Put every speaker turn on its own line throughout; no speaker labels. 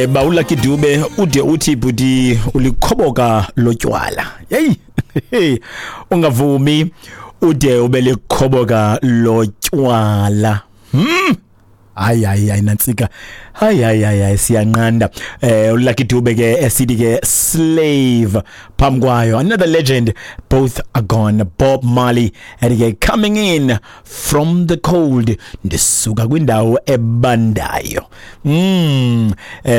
Bawula Dube ude uthi bhuti ulikhoboka lotywala. Hey, ungavumi ude ube likhoboka lotywala. Hayi hayi hayi, nantsika, hayi hayi hayi hayi, siyanqanda. ULucky Dube ke esithi ke "Slave". Phambi kwayo, another legend, both are gone, Bob Marley ethi ke "Coming in from the Cold", ndisuka kwindawo ebandayo.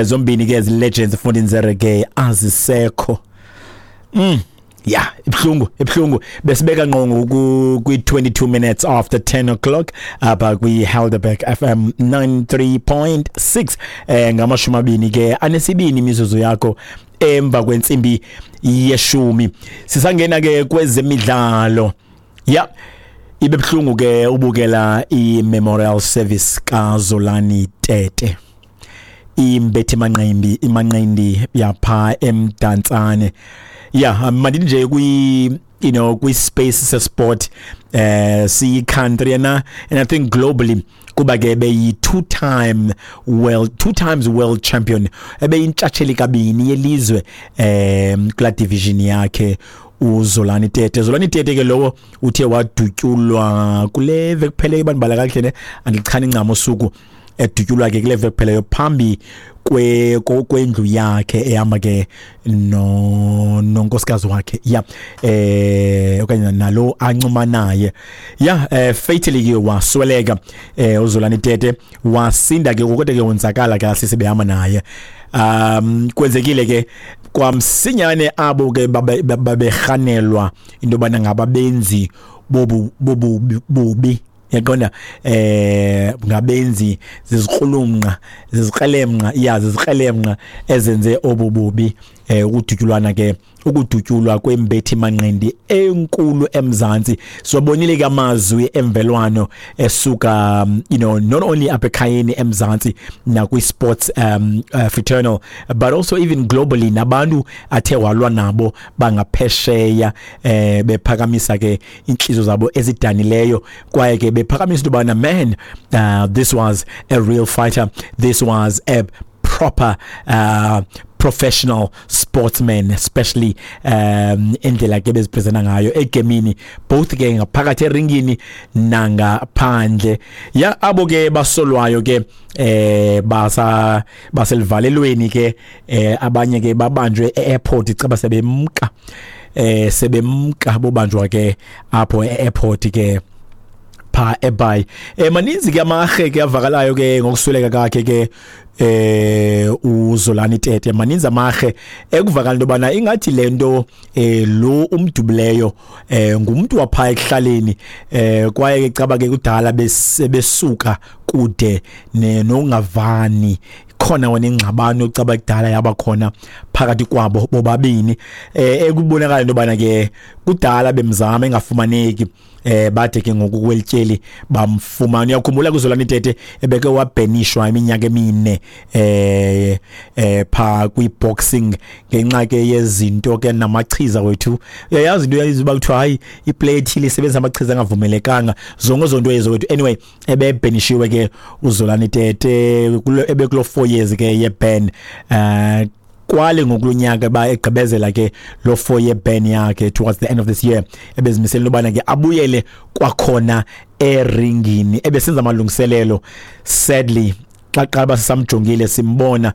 Zombini ke ezi legends fundini zereggae azisekho. Ya, ibhlungu, ibhlungu. Besibeka ngqongo kwi 22 minutes after 10 o'clock apha kwi Helderberg FM 93.6, 22 imizuzu yakho emva kwentsimbi yeshumi. Sisangena ke kwezemidlalo. Ya, ibe buhlungu ke ubukela i-memorial service kaZolani Tete, imbethi manqindi, imanqindi yapha eMdantsane. Ya, mandithi nje kwi you know kwi space sesport siyi country and I think globally, kuba ke beyi two times world champion, ebeyintshatsheli kabini yelizwe kula division yakhe uZolani Tete. Zolani Tete ke lowo uthe wadutyulwa kule veki kuphele, bandibala kakuhle ne, andichani ncam usuku edutyulwa ke kule veki kupheleyo phambi kwendlu yakhe, ehamba ke no nonkosikazi wakhe, ya, okanye nalo ancuma naye. Ya, fatally ke wasweleka uZolani Tete. Wasinda ke, kodwa ke wonzakala kahle sebehamba naye. Kwenzekile ke kwamsinyane abo ke baberhanelwa into yobana ngababenzi bobu bubi, yaqonda, ngabenzi zizikrulumnqa, zizikrelemnqa, ya, zizikrelemnqa ezenze obububi, ukudutyulwana ke, ukudutyulwa kwembethi manqindi enkulu eMzantsi. Sobonile ke amazwi emvelwano esuka not only apha ekhayeni eMzantsi nakwi sports fraternal, but also even globally, nabantu athe walwa nabo bangaphesheya, bephakamisa ke inhliziyo zabo ezidanileyo, kwaye ke bephakamisa into yobana, man, this was a real fighter, this was a proper professional sportsman, especially indlela ke bezipresenta ngayo egemini, both ke ngaphakathi eringini nangaphandle. Ya, abo ke basolwayo ke basa baselivalelweni ke. Abanye ke babanjwe e-airport, icaba sebemka, bobanjwa ke apho e-airport ke pha eBhayi. Maninzi ke amarhe ke avakalayo ke ngokusweleka kakhe ke uZolani Tete. Maninzi amarhe ekuvakala into yobana ingathi lento lo umdubuleyo ngumuntu wapha ekuhlaleni, kwaye ke caba ke kudala besuka kude nokungavani khona wona, ingxabano caba kudala yaba khona phakathi kwabo bobabini. Ekubonakala into yobana ke kudala bemzama engafumaneki, bade ke ngoku kwelityeli bamfumana. Uyakhumbula kuZolani Tete ebeke wabhenishwa iminyaka emine pha kwi-boxing ngenxa ke yezinto ke namachiza wethu. Uyayazi into yayizuba kuthiwa hayi, iplayer ethile isebenzisa amachiza angavumelekanga, zonke zonto ezo wethu. Anyway, ebebhenishiwe ke uZolani Tete, ebekulo 4 years ke ye-ban. Kwale ngokulonyaka ba egqibezela ke lo 4 year ban yakhe towards the end of this year, ebezimisele ubana ke abuyele kwakhona eringini, ebesenza amalungiselelo. Sadly, xa qala sisamjongile, simbona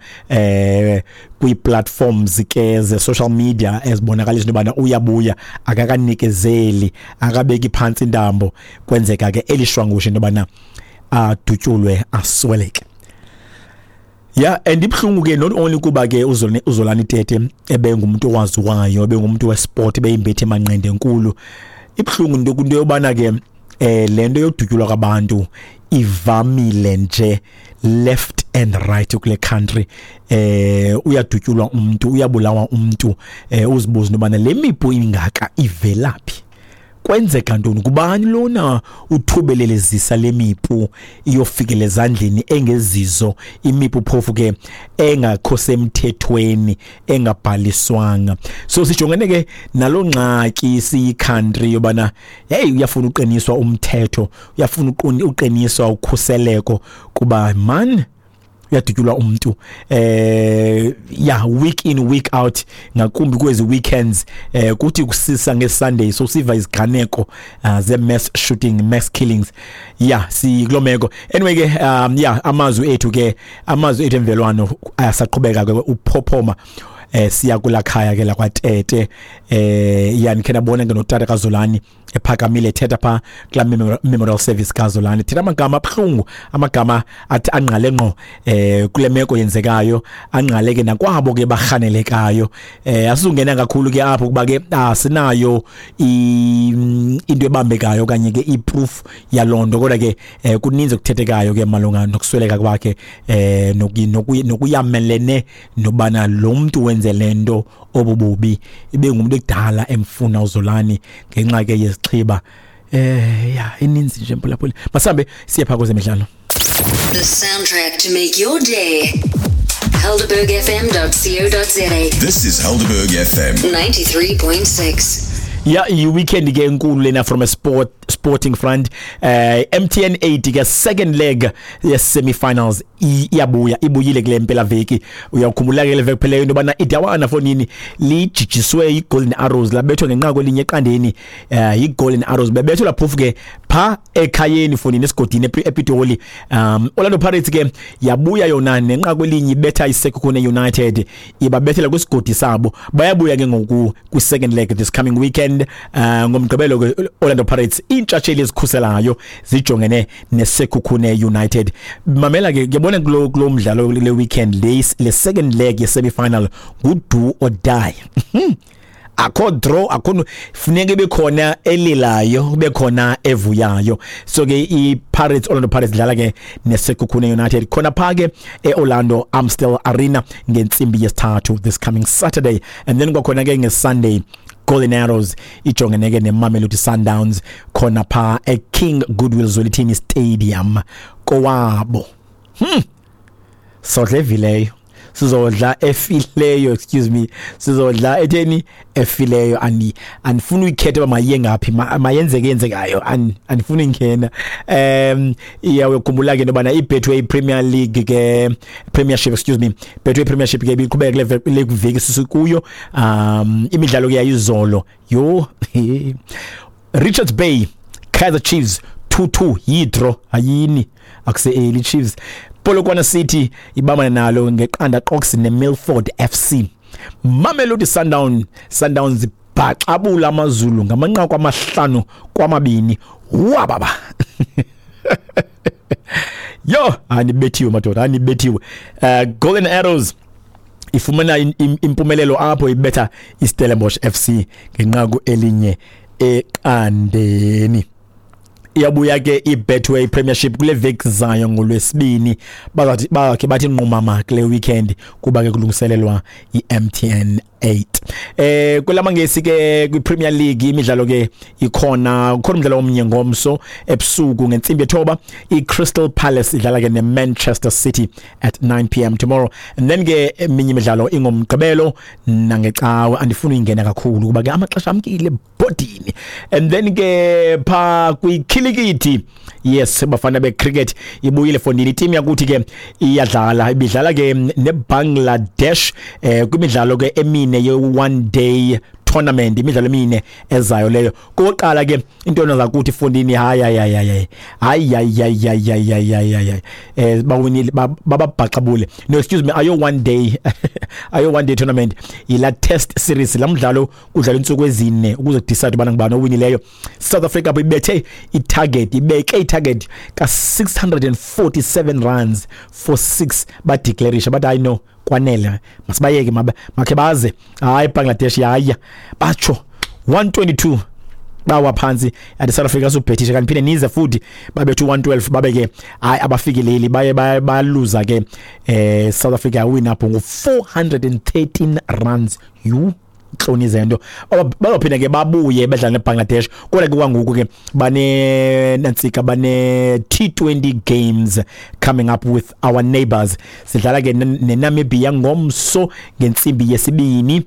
kwi-platforms ke ze social media ezibonakalisa into yobana uyabuya, akakanikezeli, akabeki phantsi intambo, kwenzeka ke elishwangusha into yobana adutyulwe asweleke. Yeah, and ibhlungu ke not only kuba ke uZolani Tete ebengumuntu owaziwayo, ebengumuntu wesport, beyimbethe emanqindi enkulu. Ibhlungu into yobana ke lento yodutyulwa kwabantu ivamile nje left and right kule country. Uyadutyulwa umuntu, uyabulawa umuntu, uzibuza into le mipu ingaka ivelaphi, kwenzeka ntoni, kubani lona uthubelelezisa lemipu iyofikela ezandleni engezizo, imipu phofu ke engakho semthethweni, engabhaliswanga. So sijongene ke nalo ngxaki siyi country yobana hey, uyafuna uqiniswa umthetho, uyafuna uqiniswa ukhuseleko, kuba man Uyadutyulwa umntu yeah, week in, week out, ngakumbi kwezi weekends, kuthi kusisa ngeSunday so siva iziganeko ze mass shooting, mass killings. Yeah, sikuloo meko. Anyway ke, yeah, amazwi ethu emvelwano ayasaqhubeka ke uphophoma siya kula khaya ke lakwaTete. Yani khe nabona ke notata kaZolani ephakamile ethetha pha kula memorial service kaZolani, thetha amagama abuhlungu, amagama athi angqale ngqo kule meko yenzekayo, angqale ke nakwabo ke barhanelekayo. Asizungena kakhulu ke apho kuba ke asinayo into ebambekayo okanye ke i-proof yaloo nto, kodwa ke kuninzi okuthethekayo ke malunga nokusweleka kwakhe nokuyamelene nobana lo mntu wenze le nto obububi ibe ngumuntu ekudala emfuna uZolani ngenxa ke yezixhiba. Ya, ininzi nje, mphulaphuli. Masambe siye phaa kwezemidlalo.
The soundtrack to make your day. HelderbergFM.co.za.
This is Helderberg FM.
93.6.
Ya, i-weekend ke enkulu lena from a sporting front. MTN 8 ke, second leg ye semi-finals iyabuya, ibuyile kule mpela veki. Uyakhumbula ke le veki phela into yobana idawana fonini lijijiswe i-Golden Arrows, labethwa ngenqaku elinye eqandeni i-Golden Arrows, bebethwa laphofu ke pha ekhayeni fonini, esigodini ePitoli. Orlando Pirates ke yabuya yona nenqaku elinye, ibetha iSekhukhune United, ibabethela kwisigodi sabo. Bayabuya ke ngoku kwi-second leg this coming weekend, ngomgqibelo ke Orlando Pirates, iintshatsheli ezikhuselayo, zijongene neSekhukhune United. Mamela ke, ngiyabona kulo mdlalo le weekend, le second leg ye semi-final ngu do or die. Akho draw, akho funeka ibe khona elilayo, kube khona evuyayo. So ke i-Pirates, Orlando Pirates dlala ke neSekhukhune United khona pha ke e-Orlando Amstel Arena ngentsimbi yesithathu this coming Saturday. And then kwakhona ke ngeSunday, Golden Arrows ijongene ke neMamelodi Sundowns khona pha eKing Goodwill Zwelithini Stadium kowabo. Sodla evileyo, sizodla efileyo, excuse me, sizodla etheni, efileyo. Andifuni uyikhetha uba mayiye ngaphi, mayenzeke yenzekayo, andifuni ingena. Iya, uyakhumbula ke into yobana iBetway Premier League ke, Premiership, excuse me, Betway Premiership ke ibiqhubeka kule veki sisikuyo. Imidlalo ke yayizolo yho, Richards Bay, Kaizer Chiefs 2-2, yi-draw, ayini, akuse early Chiefs. Polokwane City ibambana nalo ngeqanda qox neMilford FC. Mamelodi Sundowns bhaxabula AmaZulu ngamanqaku 5-2. Wababa yo, anibethiwe madoda, anibethiwe. Golden Arrows ifumana impumelelo apho ibetha iStellenbosch FC ngenqaku 1-0. Iyabuya ke iBetway Premiership kule veki zayo ngolwesibini. Bazathi bakhe bathi nqumama kule weekend kuba ke kulungiselelwa iMTN 8. Kwelamangesi ke, kwiPremier League, imidlalo ke ikhona, kukhona umdlalo omnye ngomso ebusuku ngentsimbi yethoba, iCrystal Palace idlala ke neManchester City at 9 p.m. tomorrow. And then ke eminye imidlalo ingomgqibelo nangecawe. Andifuni uyingena kakhulu kuba ke amaxesha amkile ebhodini. And then ke pha kwikhilikithi, yes, bafana becricket ibuyile fondini, iteam yakuthi ke iyadlala, ibidlala ke neBangladesh kwimidlalo ke emine ye one day tournament, imidlalo emine ezayo leyo. Kokuqala ke into zakuthi fondini, hayi hayi hayi hayi hayi hayi hayi hayi hayi hayi hayi, bawinile, bababhaxabule. No, excuse me, ayo one day tournament, ila test series, la mdlalo kudlala insuku ezine ukuze decide ubana ngubani owinileyo. South Africa ibethe itarget, ibeke itarget ka 647 runs for 6, badeclarisha bathi hayi no, kwanele, masibayeke, makhe baze. Hayi, Bangladesh yaya batsho 122, bawa phansi at South Africa subhethisha kanti phinde nize futhi babethu 112, babe ke hayi abafikeleli, baye baluza ke. South Africa win up ngo 413 runs. You ntloni zento, bazophinda ke babuye bedlala neBangladesh, kodwa ke kwangoku ke bane nantsika, bane T20 games coming up with our neighbors. Sidlala ke neNamibia ngomso ngentsimbi yesibini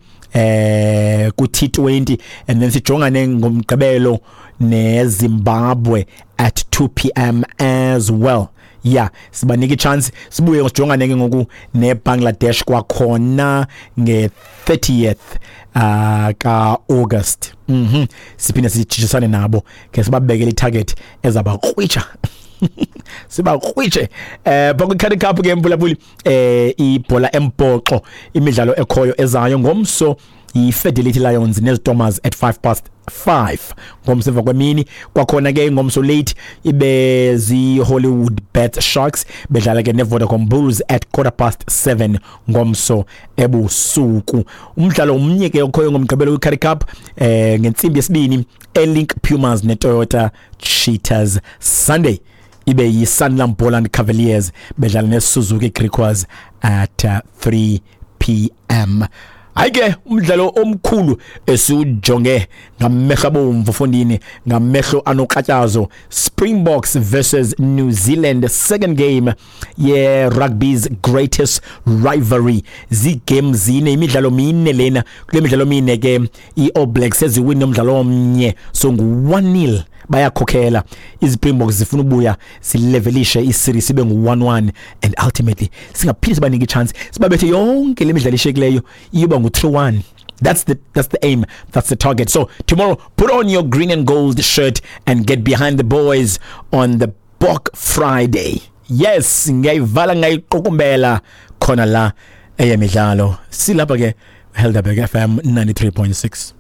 ku T20, and then sijongane ngomgqibelo neZimbabwe at 2 p.m. as well. Ya, sibanika ichance, sibuye sijongane ke ngoku neBangladesh kwakhona nge-30th ka-August. Siphinde sijijisane nabo ke, sibabekele itarget ezabakrwitsha, sibakrwitshe. Bakwi-Currie Cup ke, mphulaphuli, ibhola embhoxo, imidlalo ekhoyo ezayo ngomso yi-Fidelity Lions neZitomers at 5:05 ngomso emva kwemini. Kwakhona ke ngomso late ibe zi-Hollywood Bet Sharks bedlala ke ne-Vodacom Bulls at 7:15 ngomso ebusuku. Umdlalo omnye ke okhoyo ngomgqibelo kwi-Currie Cup, ngentsimbi 2, eLink Pumas neToyota Cheetahs. Sunday ibe yi-Sanlam Boland Cavaliers bedlala neSuzuki Griquas at 3 p.m. Hayi ke, umdlalo omkhulu esiwujonge ngamehlo abomvu, fondini, ngamehlo anokratyazo, Springboks versus New Zealand, second game ye rugby's greatest rivalry. Zigame zine, imidlalo mine lena. Kule midlalo mine ke, i-All Blacks seziwine umdlalo omnye, so ngu-1-0, bayakhokhela. IziSpringboks zifuna ubuya zilevelishe iseries ibe ngu-1-1 and ultimately singaphinde sibanike ichance, sibabethe yonke le midlalo ishekileyo, iyoba ngu-3-1. That's the aim, that's the target. So tomorrow, put on your green and gold shirt and get behind the boys on the Bok Friday. Yes, ngiyayivala, ngayiqukumbela khona la eyemidlalo. Silapha ke, Helderberg FM 93.6.